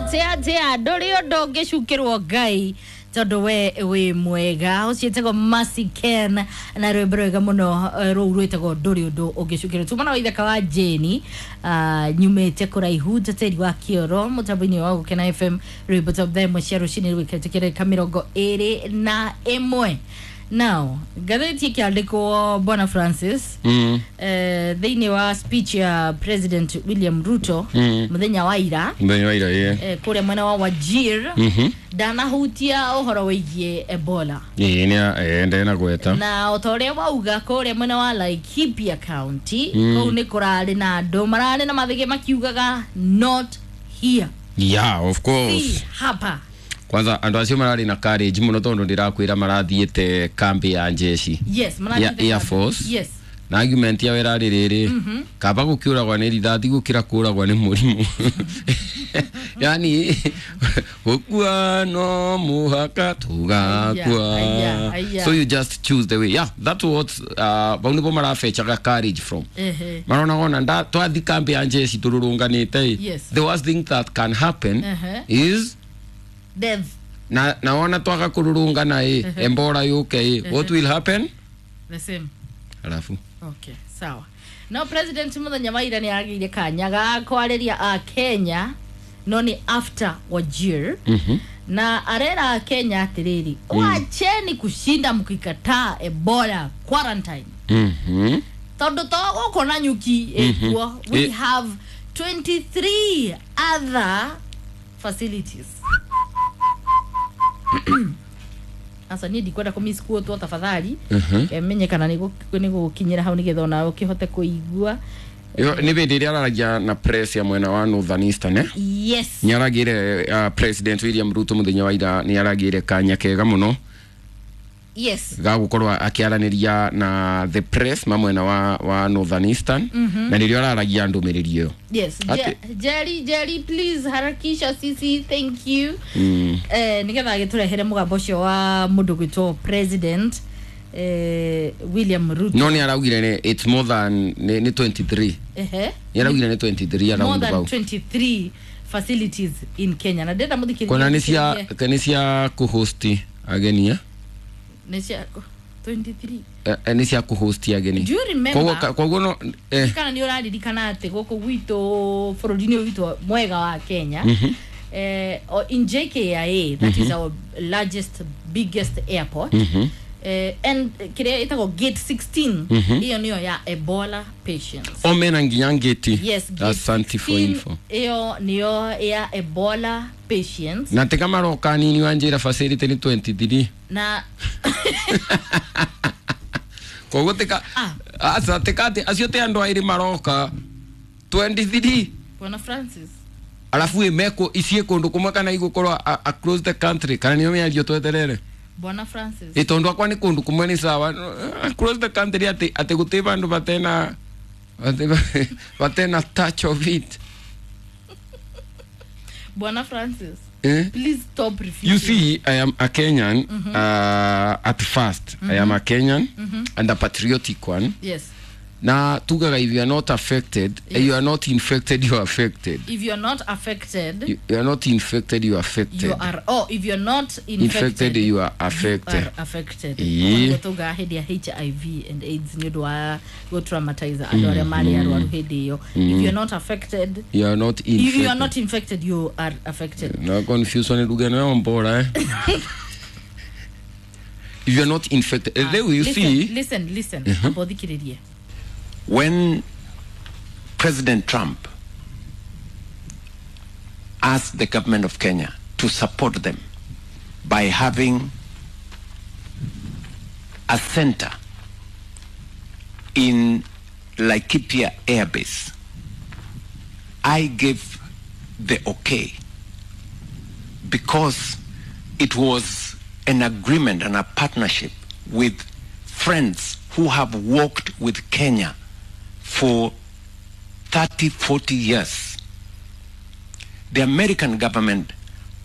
Atia ndũrĩ ũndũ ũngĩcukĩrwo Ngai tondũ we wĩ mwega. Ũcio ĩtagwo Mercy Ken na rwĩmbo rwega mũno, rũu rwĩtagwo ndũrĩ ũndũ ũngĩcukĩrwo. Tuma na waithaka wa Jane, nyumĩte kũraihu njeteri wa kĩoro mũtambo-inĩ wa Gũkena FM, rwĩmbo ta thaa 1 cia rũcinĩ rwĩkĩrĩte kĩrĩka 21. Now ngathĩti ĩkĩandĩkwo Bwana Francis, thĩinĩ wa speech ya President William Ruto mũthenya wa ira, Mũthenya wa ira, ĩĩ. Kũrĩa mwena wa Wajir, ndanahutia ũhoro wĩgiĩ Ebola. Ĩĩ, nĩ ndena gweta. Na o ta ũrĩa wauga, kũrĩa mwena wa Laikipia County, kũu nĩ kũrarĩ na andũ mararĩ na mathĩgĩ makiugaga, "Not here." Yeah, of course. Si hapa. Kwanza andũ acio mararĩ na courage mũno tondũ ndĩrakwĩra marathiĩte kambi ya jeshi yes ya marathiĩte Air Force. Na argument yao ĩrarĩ rĩrĩ, kaba gũkĩũragwa nĩ rithathi gũkĩra kũragwa nĩ mũrimũ, yani gũkua no mũhaka tũgakua. Aya, aya. So you just choose the way. Yeah, that's what bau nĩbo marafechaga courage from. Marona wona nda twathi kambi ya jeshi tũrũrũnganĩte, the worst thing that can happen is death. Na naona twaga kũrũrũngana ĩ embora yũke ĩ, what will happen? The same. Alafu Okay, sawa. No president muthenya wa ira nĩ agĩire kanya ga kwarĩria a Kenya, no nĩ after Wajir, na arera a Kenya atĩrĩrĩ, wacheni kushinda mkikataa Ebola quarantine, tondũ to gũkũ na nyuki ĩkuo, we have 23 other facilities. Asa niĩ ndikwenda kũmisquotwo, tafadhali. Menye kana nĩ gũkinyĩra hau nĩgetha onawe ũkĩhote kũigua. Yo, nĩ hĩndĩ ĩrĩa araragia na press ya mwena wa Northern Eastern, eh? Yes. Nĩ aragĩire, President William Ruto mũthenya wa ira nĩ aragĩire kanya kega mũno ga gũkorwo akĩaranĩria na the press ma mwena wa Northern Eastern, na nĩrĩo araragia ndũmĩrĩri ĩyo. Jerry, Jerry, please harakisha sisi, thank you. Nigetha agĩtũrehere mũgambo ũcio wa mũndũ gwĩtwo President William Ruto. No nĩ araugire nĩ it's more than nĩ 23. Nĩ araugire nĩ 23 More around than about. 23 facilities in Kenya, na ndĩrenda mũthikĩrĩria Kona nĩ cia kũhost ageni, eh? Nĩ cia 23. Nĩ cia kũhost ageni. Do you remember? Koguo no Kana nĩ ũraririkana atĩ gũkũ gwitũ bũrũri-inĩ ũyũ witũ mwega wa Kenya, in JKIA, that is our largest, biggest airport, and kĩrĩa ĩtagwo gate 16, ĩyo nĩyo ya Ebola patients. O mena nginya ngĩti. Yes, gate Asante for 16, info. Ĩyo nĩyo ya Ebola patients. Na tika maroka nini wanjĩra facility nĩ 23. Na Koguo tika Ah. aca tika atĩ acio ti andũ aĩrĩ maroka 23. Bwana Francis. Arabu ĩ mekũ icie kũndũ kũmwe kana igũkorwo across the country, kana nĩyo mĩario tweterere? Bwana Francis. Ĩ tondũ akwa nĩ kũndũ kũmwe nĩ sawa, across the country atĩ gũtĩ bandũ batena batena touch of it. Bwana Francis. Eh? Please stop refusing. You see, I am a Kenyan. At first, I am a Kenyan and a patriotic one. Na tugaga, if you are not affected, you are not infected, you are affected. If you're not affected, You are not infected, you are affected. You are, oh, if you're not infected, Infected, you are affected. You are affected. Ĩĩ. Ũguo tugaga hĩndĩ ya HIV and AIDS nĩ ũndũ wa gũtraumatize andũ arĩa marĩ arwaru hĩndĩ ĩyo. If you're not affected, You are not infected. if you are not infected, you are affected. Na confusion lugha ĩno ya mbora, eh? If you are not infected, there you Listen, see. listen, listen, amba ũthikĩrĩrie. When President Trump asked the government of Kenya to support them by having a center in Laikipia Air Base, I gave the okay because it was an agreement and a partnership with friends who have worked with Kenya for 30, 40 years. The American government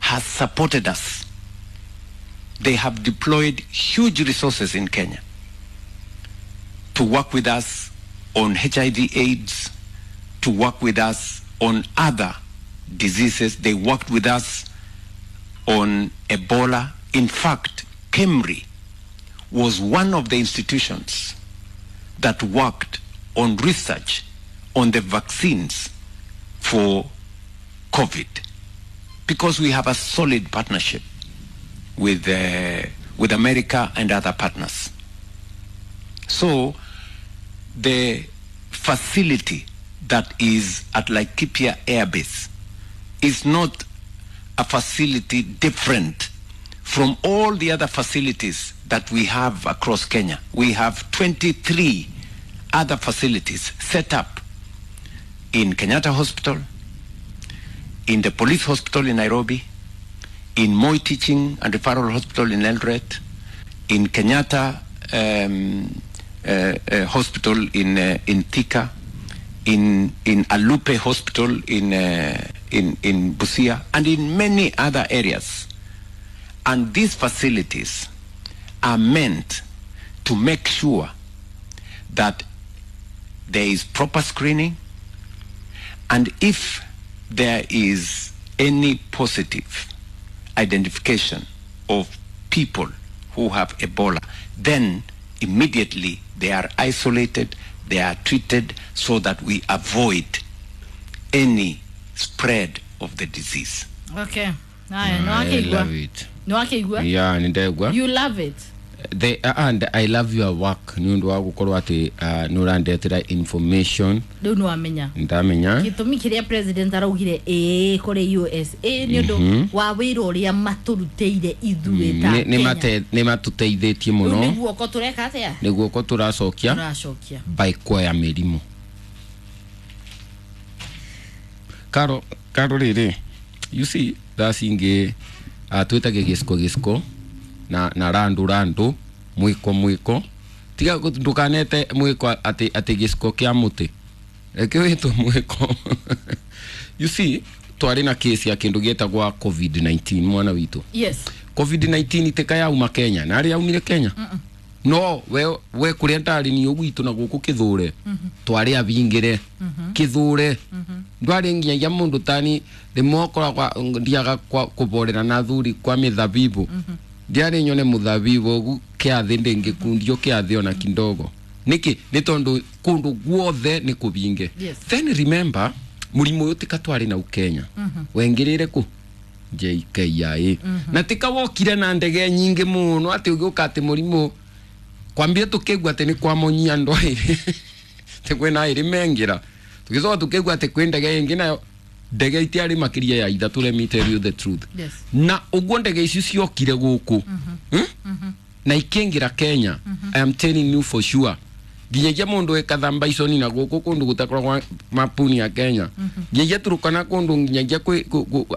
has supported us. They have deployed huge resources in Kenya to work with us on HIV AIDS, to work with us on other diseases. They worked with us on Ebola. In fact, KEMRI was one of the institutions that worked on research on the vaccines for COVID, because we have a solid partnership with America and other partners. So the facility that is at Laikipia Air Base is not a facility different from all the other facilities that we have across Kenya. We have 23 other facilities set up in Kenyatta Hospital, in the police hospital in Nairobi, in Moi Teaching and Referral Hospital in Eldoret, in Kenyatta Hospital in Thika, in Alupe Hospital in Busia, and in many other areas. And these facilities are meant to make sure that there is proper screening, and if there is any positive identification of people who have Ebola, then immediately they are isolated, they are treated, so that we avoid any spread of the disease. Okay. I love it. Yeah, you love it. And I love your work. Ni undu wa gukorwo ati ni urandetera information. Riu ni wamenya. Ndamenya. Gitumi kiria president araugire kuri USA ni undu wa wira uria maturuteire ithuĩ ta Kenya. Ni matuteithitie muno. Ni guoko tureka atia? Ni guoko turacokia. Turacokia. By kuoya mirimu. Karo riri. You see, that's inge twĩtage gĩciko na randu mwiko tiga ndukanete mwiko ati gĩciko kĩa mũtĩ reke wĩtwo mwiko. You see, twarĩ na case ya kĩndũ gĩtagwa COVID-19 mwana witũ. Yes. COVID-19 tika yauma Kenya na arĩa yaumire Kenya. No we kũrĩa ndarĩ ni ũgwitũ na gũkũ kĩthũre twarĩ abingĩre kĩthũre ndwarĩ nginyagia mũndũ tani rĩmwe ũkoragwa ndiaga kũborera na thuri kwa mĩthabibu ndiarĩ nyone mũthabibu ũgu kĩathĩ ndĩngĩkundio kĩathĩ ona kindogo nĩkĩ nĩ tondũ kũndũ guothe nĩ kũbinge. Then remember mũrimũ ũyũ tika twarĩ nau Kenya wengĩrĩre kũ JKIA na tika wokire na ndege nyingĩ mũno atĩ ũgĩũka atĩ mũrimũ kwambia tukigwa ati ni kwa monyia ndo iri te kwina iri mengira tukizoa tukigwa ati kwi ndege ingi nayo ndege itiari makiria ya ithatu, let me tell you the truth. Yes. Na uguo ndege icio ciokire guku na ikingira Kenya. I am telling you for sure nginyagia mundu ekathamba iconi na guku kundu gutakoragwa mapuni ya Kenya nginyagia Turukana kundu nginyagia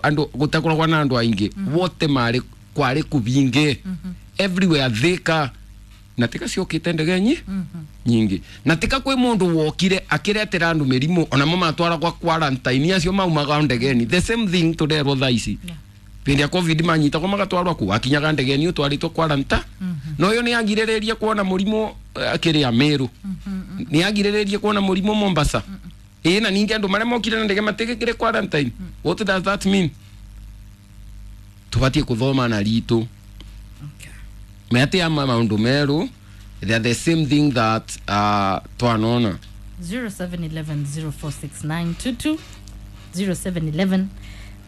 andu gutakoragwa na andu aingi wote mari kwari kubinge everywhere Thika na tika ciokite ndege nyingi na tika kwi mundu wokire akiretera andu mirimu ona mo matwara kwa quarantine acio maumaga ndegeni the same thing turerwo thaa ici. Pindi ya COVID manyita kwa magatwarwa ku akinyaga ndegeni utwaritwo quarantine no yo ni agiriririe kuona murimu akiria Meru ni agiriririe kuona murimu Mombasa na ningi andu maria mokire na ndege matigikire quarantine. What does that mean? Tubatie kuthoma na ritu. Meate ama maundu meru, they are the same thing that twanona. 0711 046922 0711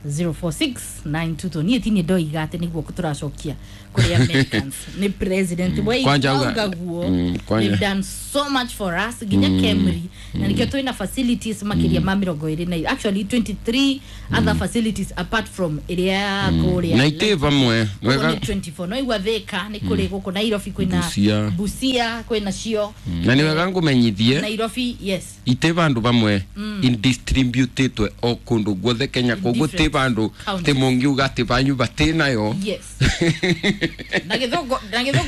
046922 ni tini do igate ni guoko turacokia kuri Americans ni president we guo they've done so much for us ginya KEMRI na nikio twina facilities makiria ma 20 na actually 23 other facilities apart from area kuria na ite pamwe wega 24 no igwa Thika ni kuri guku Nairobi kwina Busia kwina cio na ni wega ngumenyithie Nairobi. Yes, ite bandu pamwe indistributed o kundu guothe Kenya koguo ti bandu ti mungiuga ati banyu bati nayo. Yes. Na githongo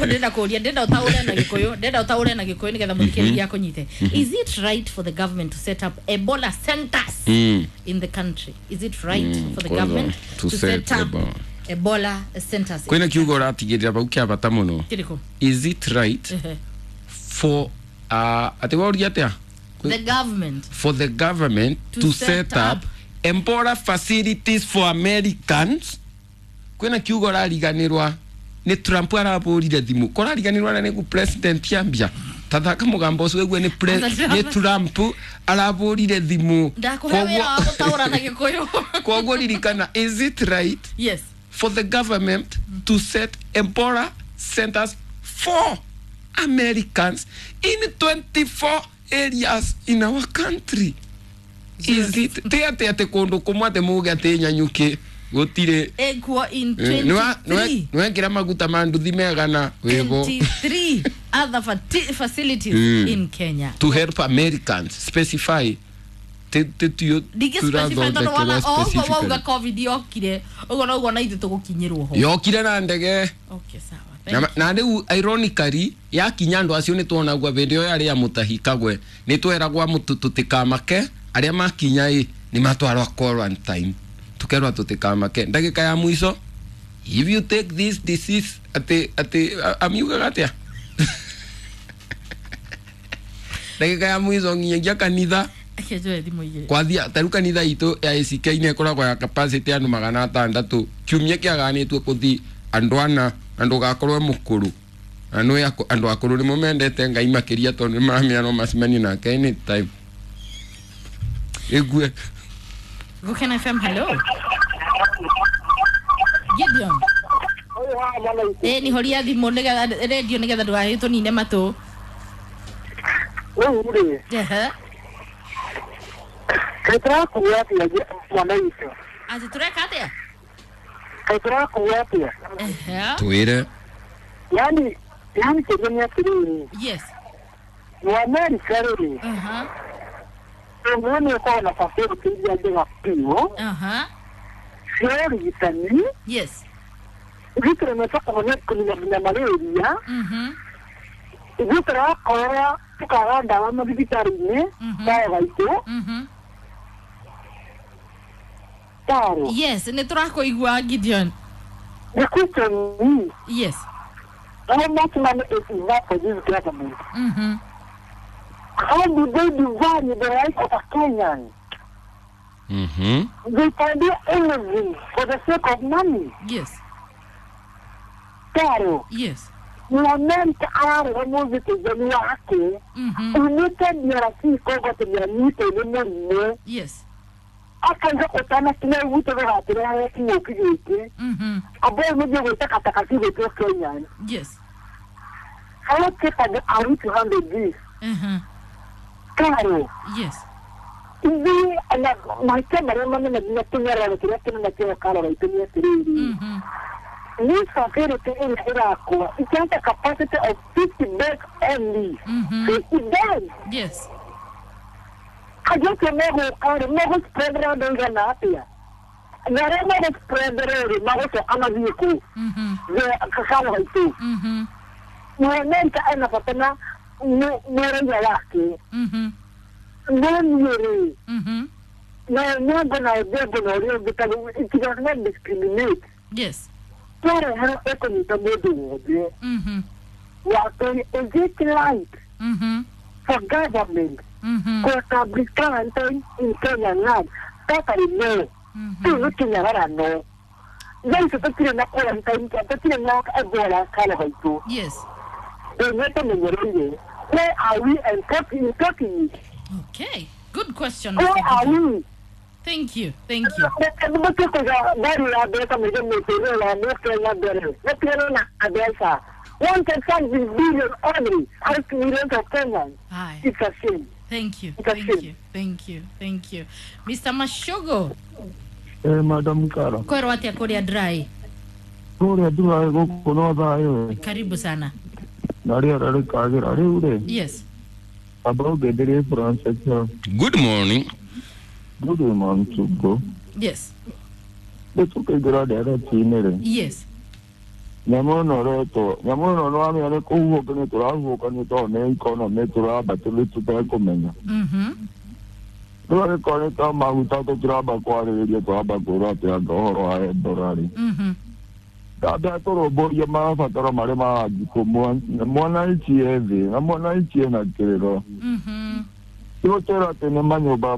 ndenda kuria ndenda utaure na Gikuyu ndenda utaure na Gikuyu nigetha muthikiriria akunyite. Is it right for the government to set up Ebola centers in the country? Is it right for the government to set up Ebola centers? Kwina kiugo ratigirira bau kia bata muno. Is it right for ati wauria atia? The government for the government to set up Ebola facilities for Americans kwina kiugo rariganirwa ni Trump arabũrire thimu korariganirwa na nĩgu president ambia tathaka mũgambo ũcio ũigue nĩ Trump arabũrire thimu. Ndakũhe wĩra wa gũtaũra na Gĩkũyũ. Koguo ririkana, is it right yes for the government to set Ebola centers for Americans in 24 areas in our country? Is it ti atĩ atĩ kũndũ kũmwe atĩ muge atĩ Nyanyuki gũtirĩ ekuo in 23 nĩwekĩra maguta ma nduthi megana wĩbo 23 other facilities in Kenya to help Americans specify ndingĩ specify tondũ wona o ũguo wauga COVID yokire ũguo noguo na ithuĩ tũgũkinyĩrwo ho yokire na ndege. Okay, sawa. Thank na rĩu ironically yakinya andũ acio nĩ tuonagua hĩndĩ ĩyo yarĩ ya mũtahi kagwe nĩ tweragwa tũtikamake arĩa makinya ĩ nĩ matwarwa quarantine tukerwa tũtikamake ndagĩka ya mũico if you take this disease atĩ amiugaga atĩa ndagĩka ya mũico nginyagia kanitha kwathia taru kanitha itũ ya ACK nĩ ĩkoragwo ya capacity andũ 600 kiumia kĩaganĩtwo kũthi andũ ana na ndũgakorwo mũkũrũ na nĩ andũ akũrũ nĩmo mendete Ngai makĩria tondũ nĩmaramenya no macemanie nake anytime. Ĩgue Gukena FM, hello Gideon. Ni horia thimũ nĩgetha radio nĩgetha ndũgagĩtũnine matũ. Rĩu rĩ kaĩ tũrakuo atĩa mwana witũ? Atĩ tũreka atĩa? Kaĩ tũrakuo atĩa? Twĩre. Yani kĩũria nĩ atĩrĩrĩ. Yes. Mũamerika rĩ, ũmwe nĩ ũkoragwo na facility iria njega biũ cia ũrigitani. Yes. Ithuĩ tũremete kũnina nginya malaria. Ithuĩ tũrakora tũkaga ndawa mathibitarĩ-inĩ tayo gaitũ. Taro. Yes, nĩ tũrakũigua Gideon. The question is, yes, how much money is enough for this government? How do they devalue the right of a Kenyan? They can do anything for the sake of money. Yes. Taro. Yes. Mũamerika ararega mũthitĩzani wake umĩte DRC Congo atĩ nĩanyitwo nĩ mũrimũ. Yes. Akauga ũtanakinya gwitũ ndũgatũrehe kĩng'ũki gĩkĩ. Ambao mũthiĩ gwĩtakataka cigwĩtwo Kenya. Yes. How capable are we to handle this? Karo. Yes. Ithuĩ ona mahĩtia marĩa manene nginya tũnyararo kĩrĩa kĩnene kĩo Karo gaitũ nĩ atĩrĩrĩ. This facility ĩrĩa ĩrakwo it has a capacity of 50 beds only. 50 beds. Yes. Andũ acio megũka rĩ megũspreadera andũ aigana atĩa? Na arĩa megũspreadera rĩ magũcoka mathiĩ kũ? Karo gaitũ. Mũamerika ena bata na mũraiya wake. No niĩ rĩ na nyongo na ũthembo na ũrĩa ũngĩ tondũ it does not discriminate. Yes. Twarehera ĩkũnyita mũndũ wothe. Wakerĩ, is it right for government to establish quarantine in Kenya land? Totally no. Rĩu nĩ kĩnyararano. Thaa ici tũtirĩ na quarantine, tũtirĩ na Ebola Karo gaitũ. Yes. Nĩ tũmenyereire. Where are we and talking it? Okay. Good question. Where are we? Thank you. Thank you. Mbeca 1.5 billion only out millions of Kenyans. Aye. It's a shame. Thank you. It's a Thank shame. you. Thank you. Thank you. Mr. Mashogo. Madam Kara. Kwerwo atĩa kũrĩa dry? Kũrĩa dry gũkũ no thayũ. Karibu sana. Na rĩera rĩkagĩra rĩu rĩ. Yes. Amba ũngenderie Francis. Good morning. Good morning, Tugo. Yes. Rĩu tũkĩingĩra ndereti-inĩ rĩ. Yes. Nyamũ ĩno ĩretwo nyamũ ĩno nĩwamenya nĩ kũhuhũkanio tũrahuhũkanio tondũ nĩ economy tũramba tũtekũmenya. Rĩu angĩkorwo nĩ ta maguta tũtiramba kwarĩrĩria tũramba kwĩrwo atĩ anga ũhoro wa Ebola rĩ. Ndamba tũrũmbũiye mabataro marĩa marangikũ mwananchi e thĩ na mwananchi ena kĩrĩro. Tigũtwĩra atĩ nĩ manyũmba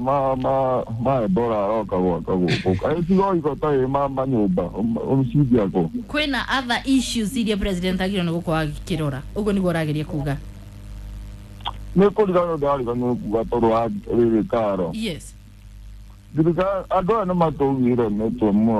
ma Ebola aroka gwaka gũkũ. Kaĩ tigo iko tarĩ ma manyũmba ũmcindia kũ? Kwĩna other issues iria president agĩrĩirwo nĩ gũkorwo agĩkĩrora, ũguo nĩguo ũrageria kuga? Nĩ kũriganĩrwo ndĩrariganĩrwo kuga tondũ wa rĩrĩ karo. Yes. Thirikari andũ aya nĩ matũgiire mĩtwe mũno.